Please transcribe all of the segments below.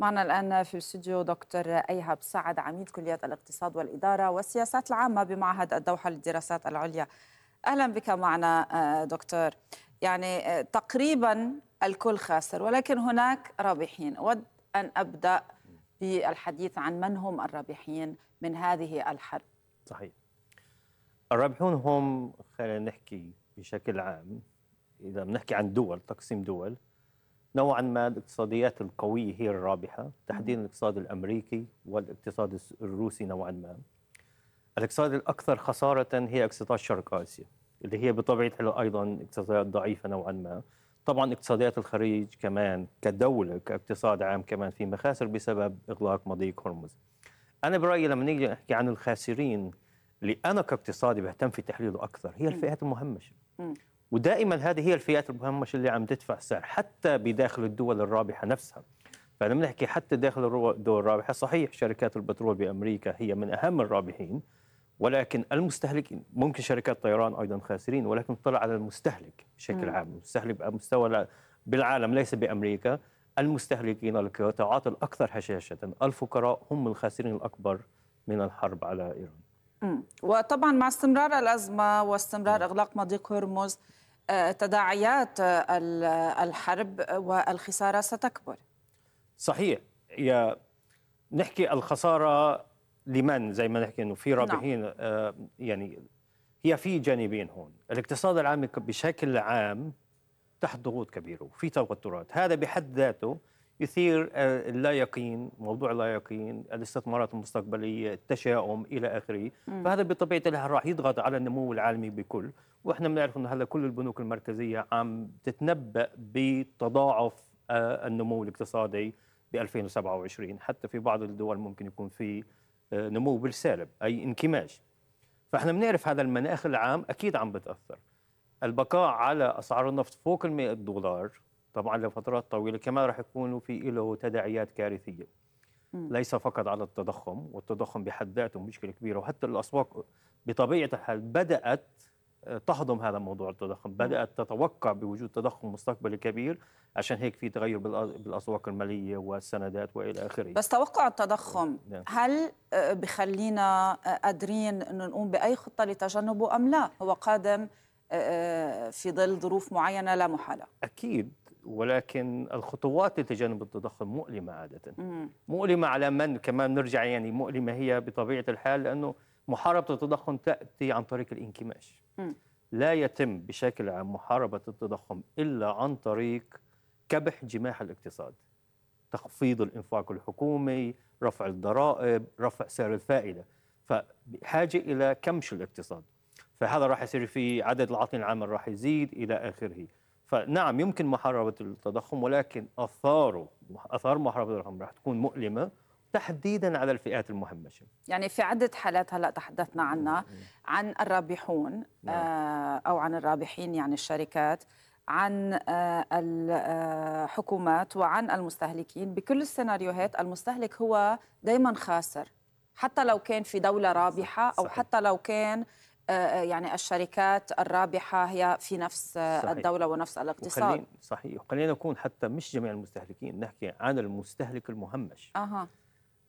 معنا الآن في الاستوديو دكتور أيهب سعد، عميد كلية الاقتصاد والإدارة والسياسات العامة بمعهد الدوحة للدراسات العليا. أهلا بك معنا دكتور. يعني تقريبا الكل خاسر ولكن هناك رابحين. أود أن أبدأ بالحديث عن من هم الرابحين من هذه الحرب. صحيح. الرابحون هم، خلينا نحكي بشكل عام، إذا بنحكي عن دول، تقسيم دول، نوعا ما الاقتصاديات القوية هي الرابحة، تحديدا الاقتصاد الأمريكي والاقتصاد الروسي نوعا ما. الاقتصاد الأكثر خسارة هي اقتصاد شرق آسيا، اللي هي بطبيعتها أيضا اقتصادات ضعيفة نوعا ما. طبعا اقتصاديات الخليج كمان كدولة كاقتصاد عام كمان في مخاسر بسبب إغلاق مضيق هرمز. أنا برأيي لما نيجي نحكي عن الخاسرين اللي أنا كاقتصادي بهتم في تحليله أكثر هي الفئات المهمشة. ودائما هذه هي الفئات المهمشة اللي عم تدفع السعر حتى بداخل الدول الرابحة نفسها. فلما نحكي حتى داخل الدول الرابحة، صحيح شركات البترول بأمريكا هي من أهم الرابحين، ولكن المستهلكين ممكن شركات طيران أيضا خاسرين، ولكن طلع على المستهلك بشكل عام. المستهلك بمستوى بالعالم ليس بأمريكا، المستهلكين القطاعات الأكثر هشاشة الفقراء هم الخاسرين الأكبر من الحرب على إيران. وطبعا مع استمرار الأزمة واستمرار إغلاق مضيق هرمز تداعيات الحرب والخسارة ستكبر. صحيح. نحكي الخسارة لمن، زي ما نحكي انه في رابحين. يعني هي في جانبين هون. الاقتصاد العالمي بشكل عام تحت ضغوط كبيرة وفي توترات، هذا بحد ذاته يثير اللا يقين، موضوع اللا يقين، الاستثمارات المستقبلية، التشاؤم إلى آخره. فهذا بطبيعة الحال راح يضغط على النمو العالمي بكل. وإحنا بنعرف أنه هلا كل البنوك المركزية عم تتنبأ بتضاعف النمو الاقتصادي ب 2027، حتى في بعض الدول ممكن يكون في نمو بالسالب أي انكماش. فإحنا بنعرف هذا المناخ العام أكيد عم بتأثر. البقاء على أسعار النفط فوق $100 طبعا لفترات طويلة كمان راح يكونوا في له تداعيات كارثية. ليس فقط على التضخم، والتضخم بحد ذاته مشكلة كبيرة، وحتى الأسواق بطبيعة الحال بدأت تهضم هذا موضوع التضخم، بدأت تتوقع بوجود تضخم مستقبلي كبير، عشان هيك في تغير بالأسواق المالية والسندات وإلى آخره. بس توقع التضخم هل بخلينا قادرين أنه نقوم بأي خطة لتجنبه أم لا؟ هو قادم في ظل ظروف معينة لا محالة. أكيد، ولكن الخطوات لتجنب التضخم مؤلمة عادة. مؤلمة على من كمان نرجع، يعني مؤلمة هي بطبيعة الحال لأنه محاربة التضخم تأتي عن طريق الانكماش. لا يتم بشكل عام محاربة التضخم إلا عن طريق كبح جماح الاقتصاد، تخفيض الإنفاق الحكومي، رفع الضرائب، رفع سعر الفائدة. فبحاجة إلى كمش الاقتصاد، فهذا راح يصير في عدد العاطلين العامل راح يزيد إلى آخره. فنعم يمكن محاربة التضخم، ولكن آثار محاربة التضخم راح تكون مؤلمة تحديدا على الفئات المهمشة. يعني في عدة حالات هلأ تحدثنا عنها، عن الرابحون أو عن الرابحين يعني الشركات، عن الحكومات وعن المستهلكين. بكل السيناريوهات المستهلك هو دايما خاسر، حتى لو كان في دولة رابحة أو حتى لو كان يعني الشركات الرابحة هي في نفس الدولة ونفس الاقتصاد. صحيح. خلينا نكون حتى مش جميع المستهلكين، نحكي عن المستهلك المهمش.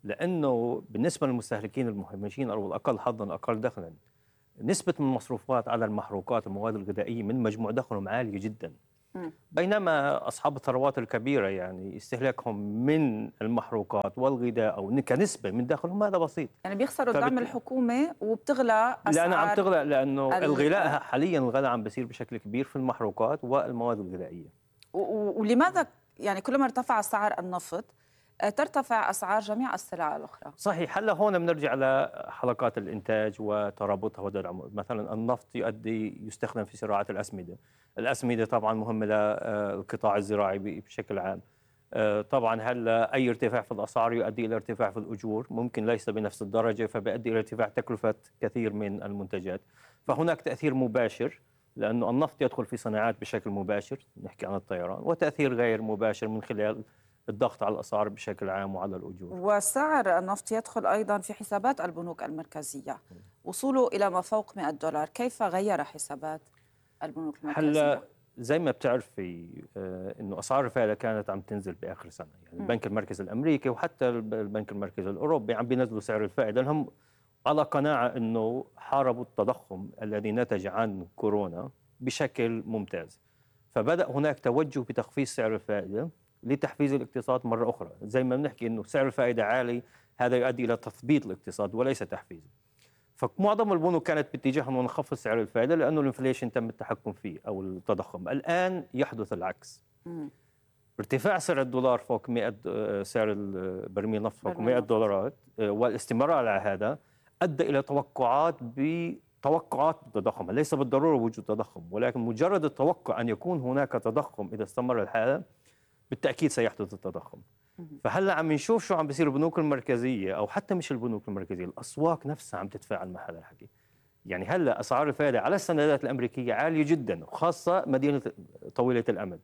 لأنه بالنسبة للمستهلكين المهمشين أو الأقل حظاً أقل دخلاً، نسبة من المصروفات على المحروقات المواد الغذائية من مجموع دخلهم عالية جداً. بينما أصحاب الثروات الكبيرة يعني استهلاكهم من المحروقات والغذاء أو كنسبة من دخلهم هذا بسيط. يعني بيخسروا الدعم الحكومي وبتغلى أسعار. لأنه عم تغلى، لأنه الغلاء حالياً الغلاء عم بيصير بشكل كبير في المحروقات والمواد الغذائية. ولماذا يعني كلما ارتفع سعر النفط ترتفع أسعار جميع السلع الأخرى؟ صحيح. هلا هون بنرجع على حلقات الإنتاج وترابطها ودعم. مثلا النفط يستخدم في زراعة الأسمدة. الأسمدة طبعا مهمة للقطاع الزراعي بشكل عام. طبعا هلا أي ارتفاع في الأسعار يؤدي إلى ارتفاع في الأجور، ممكن ليس بنفس الدرجة، فبيؤدي إلى ارتفاع تكلفة كثير من المنتجات. فهناك تأثير مباشر، لأنه النفط يدخل في صناعات بشكل مباشر، نحكي عن الطيران، وتأثير غير مباشر من خلال الضغط على الأسعار بشكل عام وعلى الأجور. وسعر النفط يدخل أيضا في حسابات البنوك المركزية، وصوله إلى ما فوق $100. كيف غير حسابات البنوك المركزية؟ هلا زي ما بتعرفي انه اسعار الفائده كانت عم تنزل باخر سنه، يعني البنك المركزي الامريكي وحتى البنك المركزي الاوروبي عم بينزلوا سعر الفائده لانهم على قناعه انه حاربوا التضخم الذي نتج عن كورونا بشكل ممتاز. فبدا هناك توجه بتخفيض سعر الفائده لتحفيز الاقتصاد مره اخرى، زي ما بنحكي انه سعر الفائده عالي هذا يؤدي الى تثبيط الاقتصاد وليس تحفيزه. فمعظم البنوك كانت باتجاه انه نخفض سعر الفائده لانه الانفليشن تم التحكم فيه او التضخم. الان يحدث العكس. ارتفاع سعر الدولار فوق 100 سعر البرميل النفط فوق 100 دولارات والاستمرار على هذا ادى الى توقعات التضخم، ليس بالضروره وجود تضخم، ولكن مجرد التوقع ان يكون هناك تضخم اذا استمر الحال بالتاكيد سيحدث التضخم. فهلا عم نشوف شو عم بيصير البنوك المركزيه او حتى مش البنوك المركزيه، الاسواق نفسها عم تتفاعل مع هذا الحكي. يعني هلا اسعار الفائده على السندات الامريكيه عاليه جدا، وخاصه مدينه طويله الامد.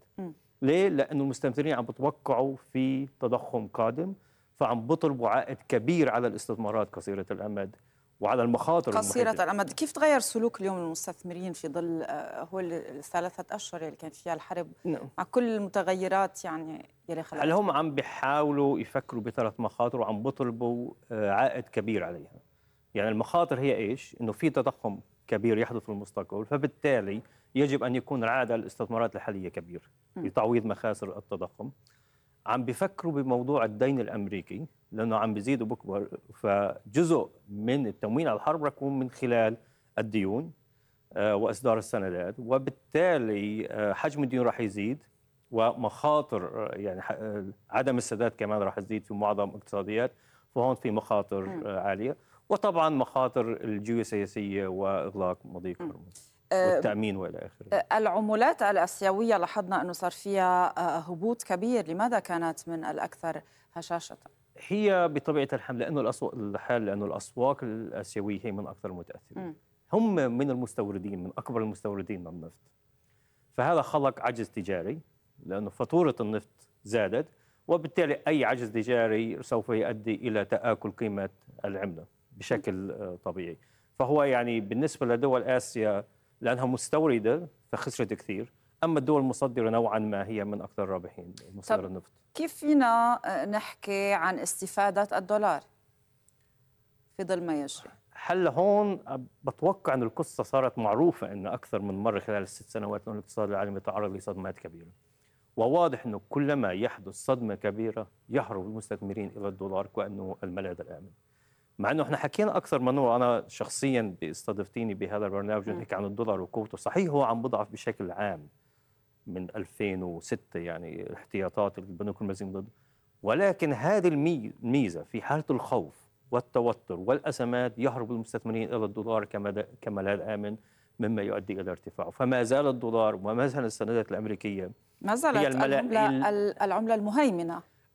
ليه؟ لانه المستثمرين عم بتوقعوا في تضخم قادم، فعم بيطلبوا عائد كبير على الاستثمارات قصيره الامد وعلى المخاطر قصيرة المحيطة. الأمد. كيف تغير سلوك اليوم المستثمرين في ظل هو الثلاثة أشهر اللي كانت فيها الحرب مع كل المتغيرات يعني يلي خلقتها؟ هل هم عم بيحاولوا يفكروا بثلاث مخاطر وعم بيطلبوا عائد كبير عليها؟ يعني المخاطر هي ايش؟ انه في تضخم كبير يحدث في المستقبل، فبالتالي يجب ان يكون العائد على الاستثمارات الحاليه كبير لتعويض مخاسر التضخم. عم بيفكروا بموضوع الدين الامريكي لانه عم بيزيد وبكبر، فجزء من التموين على الحرب رح يكون من خلال الديون واصدار السندات، وبالتالي حجم الديون رح يزيد ومخاطر يعني عدم السداد كمان رح تزيد في معظم الاقتصاديات، فهون في مخاطر عاليه، وطبعا مخاطر الجيوسياسيه واغلاق مضيق هرمز والتامين والى اخره. العملات الاسيويه لاحظنا انه صار فيها هبوط كبير، لماذا كانت من الاكثر هشاشه؟ هي بطبيعه الحال لانه الاسواق الاسيويه هي من اكثر المتاثرين. هم من المستوردين، من اكبر المستوردين للنفط، فهذا خلق عجز تجاري لانه فاتوره النفط زادت، وبالتالي اي عجز تجاري سوف يؤدي الى تآكل قيمه العمله بشكل طبيعي. فهو يعني بالنسبه لدول اسيا لانها مستورده فخسرت كثير، اما الدول المصدره نوعا ما هي من اكثر الرابحين مصدر النفط. كيف فينا نحكي عن استفاده الدولار في ظل ما يجري؟ هلا هون بتوقع انه القصه صارت معروفه انه اكثر من مره خلال الست سنوات انه الاقتصاد العالمي يتعرض لصدمات كبيره. وواضح انه كلما يحدث صدمه كبيره يهرب المستثمرين الى الدولار كانه الملاذ الامن. مع انه احنا حكينا اكثر من مره، انا شخصيا استضفتيني بهذا البرنامج ونحكي عن الدولار وقوته، صحيح هو عم بضعف بشكل عام من 2006 يعني احتياطات البنوك المركزيه ضد، ولكن هذه الميزه في حاله الخوف والتوتر والأزمات يهرب المستثمرين إلى الدولار كملاذ آمن، مما يؤدي إلى ارتفاعه. فما زال الدولار وما زال السندات الأمريكية ما زالت العملة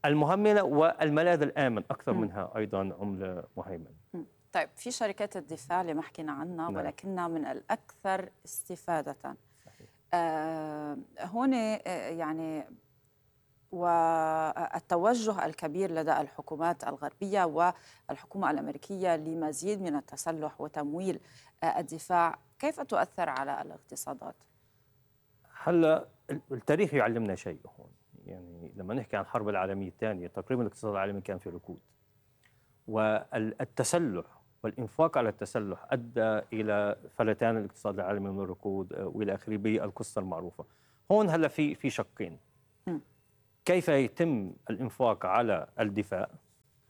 المهيمنة والملاذ الآمن أكثر منها أيضا عملة مهيمنة. طيب في شركات الدفاع اللي ما حكينا عنها ولكنها من الأكثر استفادة. هون يعني والتوجه الكبير لدى الحكومات الغربية والحكومة الأمريكية لمزيد من التسلح وتمويل الدفاع، كيف تؤثر على الاقتصادات؟ هلا التاريخ يعلمنا شيء هون، يعني لما نحكي عن الحرب العالمية الثانية تقريبا الاقتصاد العالمي كان في ركود، والتسلح والإنفاق على التسلح أدى إلى فلتان الاقتصاد العالمي من الركود وإلى آخره بالقصة المعروفة. هون هلا في شقين، كيف يتم الإنفاق على الدفاع؟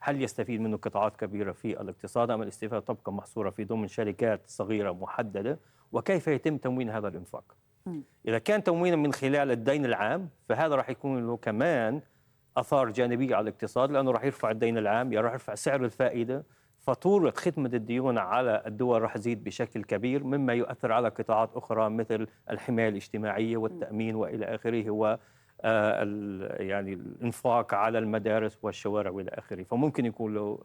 هل يستفيد منه قطاعات كبيرة في الاقتصاد أم الاستفادة تبقى محصورة في ضمن شركات صغيرة محددة؟ وكيف يتم تموين هذا الإنفاق؟ إذا كان تموينا من خلال الدين العام فهذا راح يكون له كمان آثار جانبية على الاقتصاد، لأنه راح يرفع الدين العام، راح يرفع سعر الفائدة، فاتورة خدمة الديون على الدول راح تزيد بشكل كبير، مما يؤثر على قطاعات أخرى مثل الحماية الاجتماعية والتأمين وإلى آخره، يعني الانفاق على المدارس والشوارع والى اخره. فممكن يكون له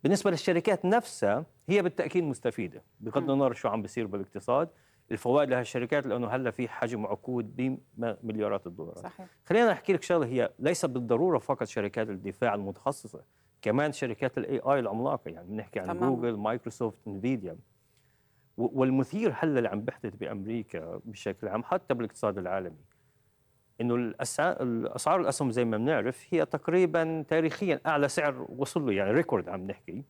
بالنسبه للشركات نفسها هي بالتاكيد مستفيده بغض النظر شو عم بيصير بالاقتصاد، الفوائد لهالشركات لانه هلا في حجم عقود بمليارات الدولارات. صحيح. خلينا احكي لك شغله، هي ليس بالضروره فقط شركات الدفاع المتخصصه، كمان شركات الاي اي العملاقه، يعني بنحكي عن جوجل، مايكروسوفت، انفيديا. والمثير هلا اللي عم بيحدث بامريكا بشكل عام حتى بالاقتصاد العالمي انه الاسعار الاسهم زي ما بنعرف هي تقريبا تاريخيا اعلى سعر وصل له، يعني ريكورد عم نحكي.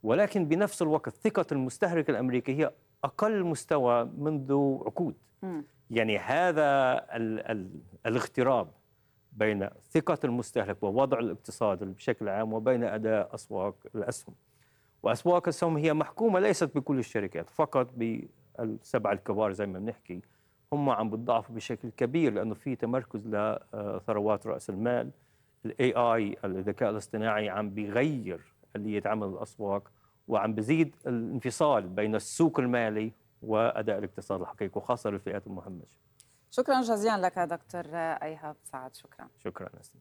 ولكن بنفس الوقت ثقة المستهلك الامريكي هي اقل مستوى منذ عقود. يعني هذا الاغتراب بين ثقة المستهلك ووضع الاقتصاد بشكل عام وبين اداء اسواق الاسهم. واسواق الاسهم هي محكومة ليست بكل الشركات، فقط بالسبع الكبار زي ما بنحكي، هم عم بتضعفوا بشكل كبير لانه في تمركز لثروات راس المال. الاي اي الذكاء الاصطناعي عم بيغير آلية عمل الاسواق، وعم بزيد الانفصال بين السوق المالي واداء الاقتصاد الحقيقي وخاصه للفئات المهمشه. شكرا جزيلا لك دكتور ايهاب سعد. شكرا. شكرا أستاذ.